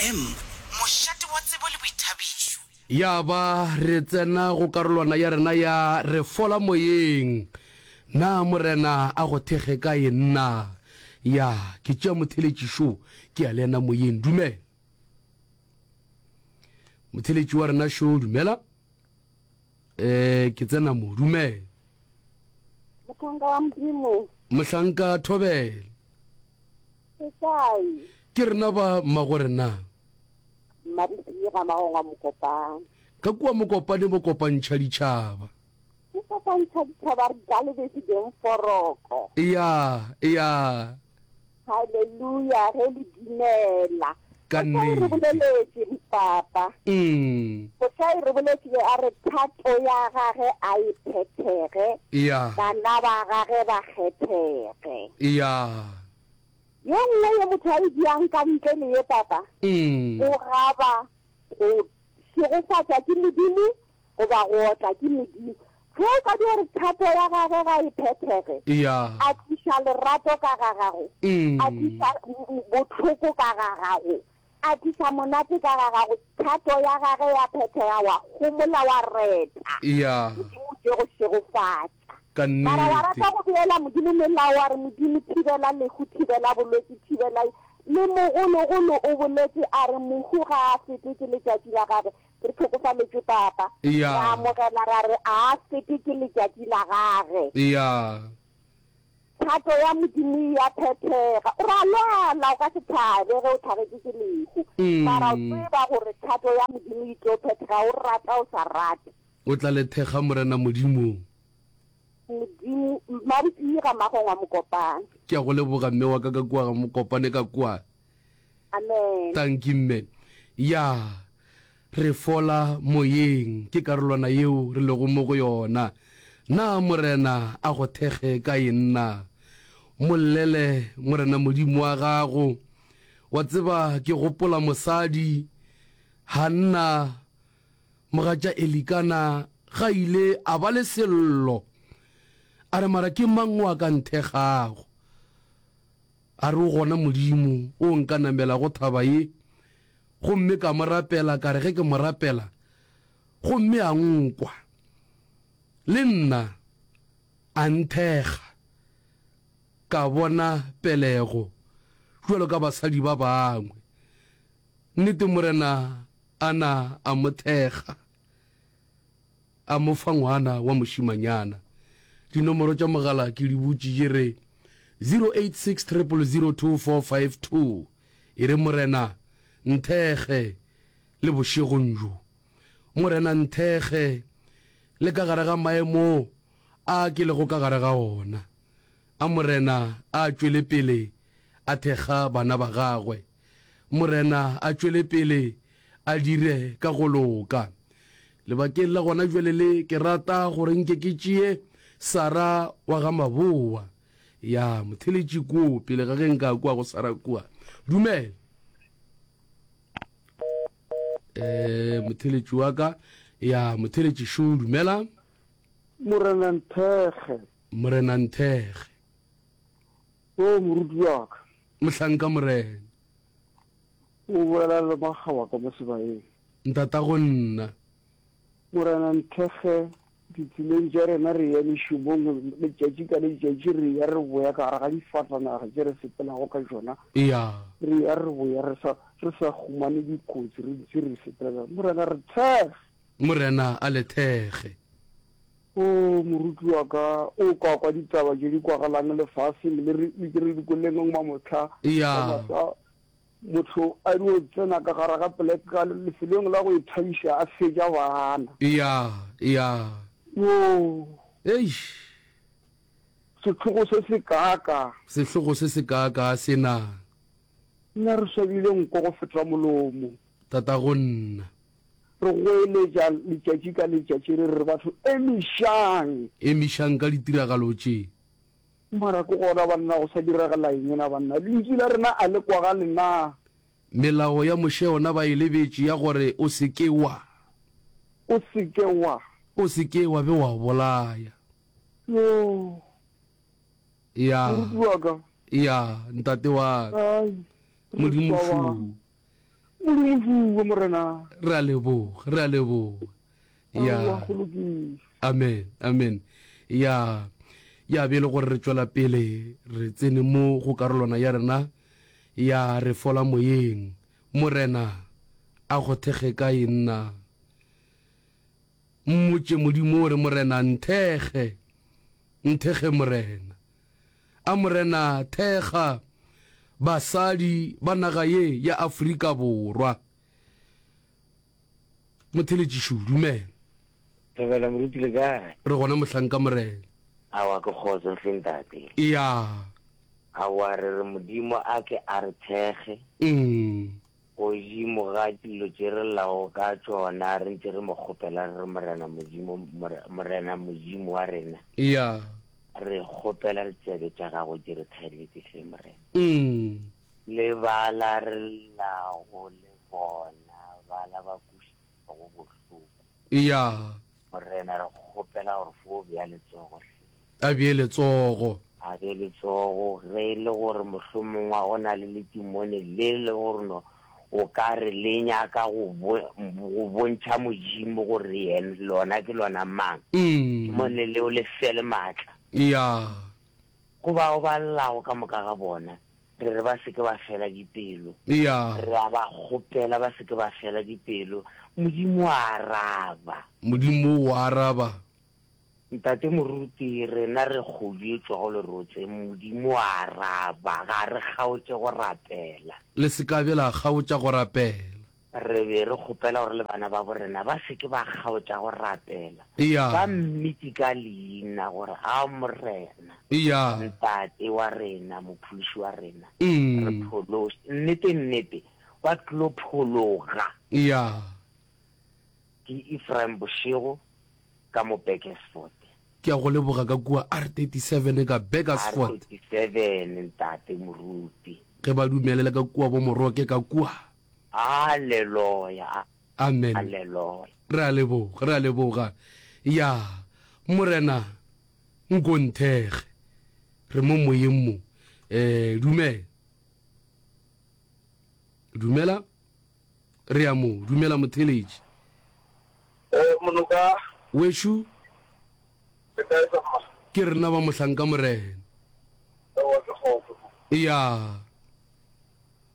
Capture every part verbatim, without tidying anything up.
F M, mošate wa tsebo le boithabišo. Ya ba re tsena go karolwana ya rena ya Re Fola Moyeng. Na Morena a go thekge ka eng na? Ya, ke tšea motheletši šo, ke ya le yena moyeng. Dumela. Motheletši wa rena šo, dumela. Eh, ke tsena mo, dumela. Mohlanka wa Modimo. Mohlanka Thobela. Ke kae? Ke rena ba mmagorena. Mmadisiri ga Magongwa Mokopane. Ka kua Mokopane bo kopantšha ditšhaba. Ke kopantšha ditšhaba re ka lebese beng foroko. Eya, eya. Haleluya, ge le dumela. Ka Mosadi re nnete. boleletše, Papa. Mm. Mosadi re boletše be a re thato ya gage a e phethege, Eya. bana ba gage ba kgethege. Eya. Ye nngwe ye motho a e diang ka ntle le ye, Papa, Mm. go gaba go šegofatša ke Modimo goba go otla ke Modimo. Ge o ka dio re thato ya gage ga e phethege, Eya. a tliša lerato ka ga gago, Mm. a tliša bohloko ka ga gago, a tliša monate ka ga gago, thato ya gage ya phethega, wa homola wa reta. Eya. Modimo o tlo go šegofatša. Ka Mara wa nnete. rata go beela Modimo melao, wa re, Modimo, thibela lehu, thibela bolwetši, thibela. Le mogologolo o boletše a re, mohu ga a fetwe ke letšatši la gage. Re hlokofaletšwe, Papa. Re Eya. amogela ra re, a a fetwe ke letšatši la gage. Eya. Thato ya Modimo e a phethega. O ra lwala, o ka se thabe ge o thagetšwe ke lehu. Mara o Mm. tseba gore thato ya Modimo e tlo phethega, o rata o sa rate. O tla le thekga Morena Modimo. Modimo, Mabotsi ga Magongwa Mokopane. Ke a go leboga mme wa ka ka kua ga Mokopane ka kua. Amen. Tanki mme. Ya, re fola moyeng, ke karolwana yeo re lego mo go yona. Na Morena a go thekge ka eng na? Mo llele Morena Modimo wa gago. Wa tseba ke gopola mosadi Hanna, mogatša Elikana, ga ile a ba le sello. A re, Mara ke mang o a ka nthekgago? A re, O gona Modimo o nka namelago thaba ye, gomme ka mo rapela, ka re ge ke mo rapela, gomme a nkwa, le nna a nthekga, ka bona pelego bjalo ka basadi ba bangwe. Nnete Morena a na a mo thekga, a mo fa ngwana wa mošimanyana. Dinomoro tša mogala ke di butše, ke re zero eight six triple zero two four five two. E re, Morena, nthekge le bošegong bjo. Morena, nthekge le ka gare ga maemo a ke lego ka gare ga ona. A Morena a tšwele pele a thekga bana ba gagwe. Morena a tšwele pele a dire ka go loka. Lebakeng la gona bjale le, ke rata gore nke ke tšee Sara wa ga Maboa. Ya, motheletši koo, pele ga ge nka kwa go Sara kua. Dumela. Eh, motheletši wa ka. Ya, motheletši šo, dumela. Morena nthekge. Morena nthekge. O moruti wa ka. Mohlanka Morena. O bolela le makgawa ka mo sebaeng. Ntatago nna. Morena nthekge ditseleng tša rena, re ya mešomong letšatši ka letšatši, re ya re boya ka gare ga difatanaga tše re sepelago ka tšona. Eya. Re ya re boya re sa, re sa humane dikotsi, re ntše re sepela. Morena re thekge. Morena a le thekge. O moruti wa ka, o ka kwa ditaba tše di kwagalang lefaseng le re, le tše re di kweleng mamohla. Eya. Motho a dio tsena ka gare ga poleke ka lefelong la go ithabiša a fetša bana. Eya, eya. Yo. Eish. Sehlogo se se kaaka. Sehlogo se se kaaka se na. Nna re swabile nko go feta molomo. Tatago nna. Re goeletša letšatši ka letšatši re re batho emišang. Emišang ka ditiragalo tše. Mara ke gona banna go sa diragala eng na banna? Lentšu la rena a le kwagale na? Melao ya Moshe yona ba e lebetše ya gore o se ke wa. O se ke wa. O se ke wa be wa bolaya. Yo. Ya. Moruti wa ka. Ya, ntate wa ka. Ai, Modimo re swaba. šu. Modimo fuwe Morena. Re a leboga, re a leboga. Ya. Aowa, go lokile. Amen, amen. Ya, ya be e le gore re tšwela pele re tsene mo go karolwana ya rena ya re fola moyeng. Morena a go thekge kae nna? Mmotše Modimo o re, Morena, nthekge, nthekge Morena. A Morena thekga basadi ba naga ye ya Afrika Borwa. Motheletšišo, dumela. Thobela moruti le kae? Re gona mohlanka Morena. Aowa ke kgotso hle ntate. Eya. Aowa re re Modimo a ke a re thekge. Mm. Godimo ga dilo tše re llago ka tšona re ntše re mo kgopela re re Morena Modimo, Morena Modimo wa rena. Eya. Re kgopela ditsebe tša gago di re thaeletse hle Morena. Mm. Le bala re llago le bona bala ba kwešitšwego bohloko. Eya. Morena re kgopela gore fo bea letsogo hle. A bee letsogo. A bee letsogo ge e le gore mohlomongwe go na le letimone le le gore no o ka re le nyaka go go bontšha Modimo gore yena lona ke lona mang. Mm. Timone leo le fele maatla. Eya. Go bao ba llago ka moka ga bona, re re ba se ke ba fela dipelo. Eya. Re a ba kgopela ba se ke ba fela dipelo. Modimo o a araba. Modimo o araba. Ntate Moruti, rena re kgodu e tšwago lerotseng, Modimo o a araba, ga re kgaotše go rapela. Le se ka be la kgaotša go rapela. Re be re kgopela gore le bana babo rena ba se ke ba kgaotša go rapela. Eya. Ba mmitše ka leina gore, A Morena, Eya. Ntate wa rena, Mophološi wa rena, Mm. re phološe. Nnete, nnete, ba tlilo phologa. Eya. Ke Ephraim Bošego ka mo Burgersfort. Ke a go leboga ka kua R thirty-seven ka Burgersfort. R thirty-seven, Ntate Moruti. Ge ba dumelela ka kua bo Moroke ka kua. Haleluya. Amen. Haleluya. Re a leboga, re a leboga. Ya, Morena, nko nthekge. Re mo moyeng mo. Eh, dumela. Dumela. Re a mo, dumela motheletši. Eh, monoka. Wešo. Le kae sa mma? Ke rena ba mohlanka Morena. Ewa, ke kgotso. Ya.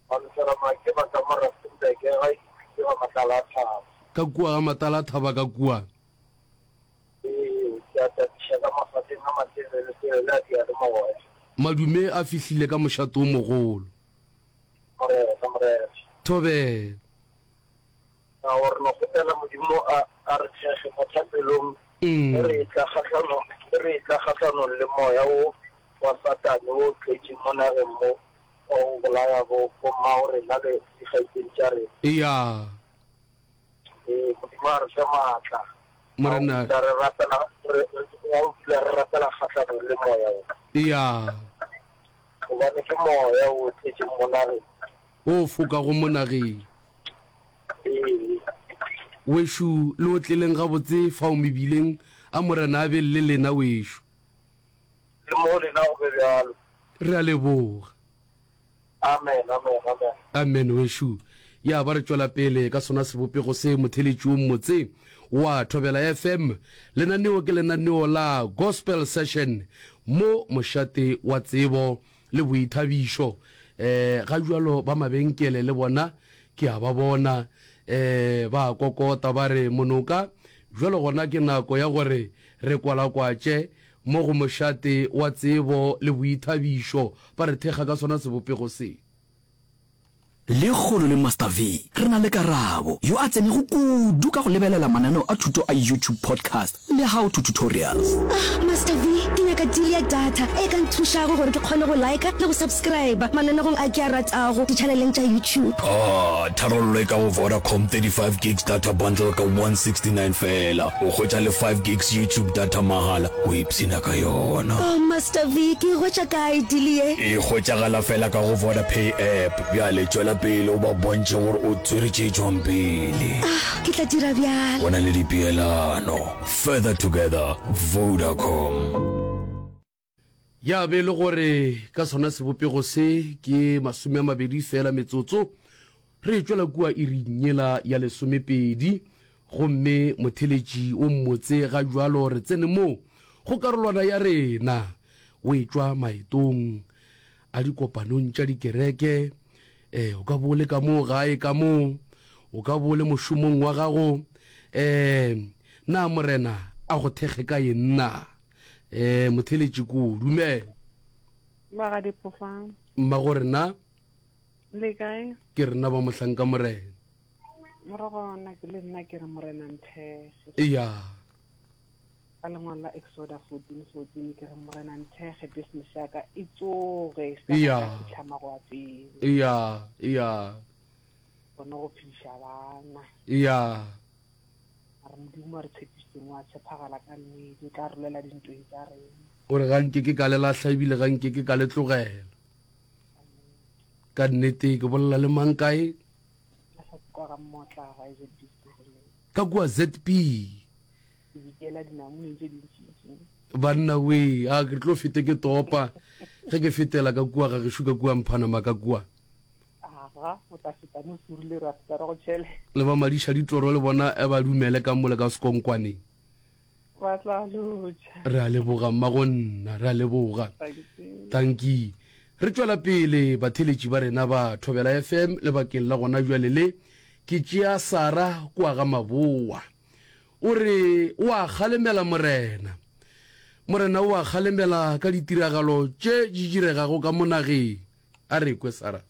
Ba lefela make ba ka mo Rustenburg, ga e ke ga Matala a Thaba. Ka kua ga Matala a Thaba ka kua. Ee, ke a tatiša ka mafateng a matelele telele a diyalemoya. Madume a fihlile ka mošato o mogolo. Morena, Morena. Thobela. Na gore no kgopela Modimo a, a re thekge mo thapelong, Mm. ge re etla kgahlanong, ge re etla kgahlanong le moya wo wa Satane wo o tletšeng mo nageng mo, wa go bolaya bo, bo mmago rena le dikgaetšedi tša rena. Eya. Ee, Modimo a re fe maatla. Morena. Wa go dula re rapela, re, re, wa go dula re rapela kgahlanong le moya wo. Eya. Gobane ke moya wo o tletšeng mo nageng. O fokago mo nageng. Ee. Wešo, le otleleng gabotse fao mebileng, a Morena a be le lena wešo. Le mo lena go be bjalo. Re a leboga. Amen, amen, amen. Amen wešo. Ya ba re tšwela pele ka sona sebopego se motheletši o mmotse wa Thobela F M. Lenaneo ke lenaneo la Gospel Session mo mošate wa tsebo le boithabišo. Eh, ga bjalo ba mabenkele le bona ke a ba bona, eh, ba kokota ba re monoka bjalo gona ke nako ya gore re kwalakwatše mo go mošate wa tsebo le boithabišo, ba re thekga ka sona sebopego se. Lekgolo le Master V re na le Karabo, yo a tsenego kudu ka go lebelela mananeo a thuto a YouTube podcast le how to tutorials. Ah, Master V, ke nyaka deal ya data e ka nthušago gore ke kgone go like le go subscribe mananegong a ke a ratago di-channeleng tša YouTube. Ah, tharollo e ka go Vodacom thirty-five gigs data bundle ka one sixty-nine fela. O hwetša le five gigs YouTube data mahala, o ipshina ka yona. Oh, Master V, ke e hwetša kae deal ye? E hwetšagala fela ka go Vodapay app. Bjale tšwela pele o ba bontšhe gore o tswere tše tšwang pele. Ah, ke tla dira bjalo. Go na le dipeelano. Further together, Vodacom. Ya be e le gore ka sona sebopego se ke masome a mabedi fela metsotso Re tšwela kua iring yela ya lesomepedi, gomme motheletši o mmotse ga bjalo re tsene mo go karolwana ya rena. O etšwa maetong a dikopanong tša dikereke, eh, o ka bo o le ka moo gae ka moo, o ka bo o le mošomong wa gago, eh, na Morena a go thekge ka eng na? Eh, motheletši ko, dumela. Mmagadiphofa. Mmagorena. Le kae? Ke rena ba mohlanka Morena. Morago nna ke le nna ke re Morena nthekge. Eya. Ka lengwalo la Exoda fourteen fourteen ke re Morena nthekge business ya ka e tsoge e se Eya. ka fihla magoapeng. Eya, eya. Kgone go phediša bana. Eya. A re Modimo a re tshepišitseng wa tshepagala ka nnete o tla re lwela dintweng tša rena. O re ga nke ke ka le lahla ebile ga nke ke ka le tlogela. Ka nnete ke bolela le mang kae? Ka kua Z P. Banna wee, a ke tlo fete ke topa ge ke fetela ka kua ga gešo ka kua Mphanama ka kua. Le ba madiša ditoro le bona ba dumele ka mole ka sekonkwaneng. Ba tla lotšha. Re a leboga mmagonna, re a leboga. Tanki. Re tšwela pele batheeletši ba rena ba Thobela F M lebakeng la gona bjale le, ke tšea Sarah kua ga Mabowa. O re o a kgalemela Morena. Morena o a kgalemela ka ditiragalo tše di diregago ka mo nageng. A re kwe Sarah.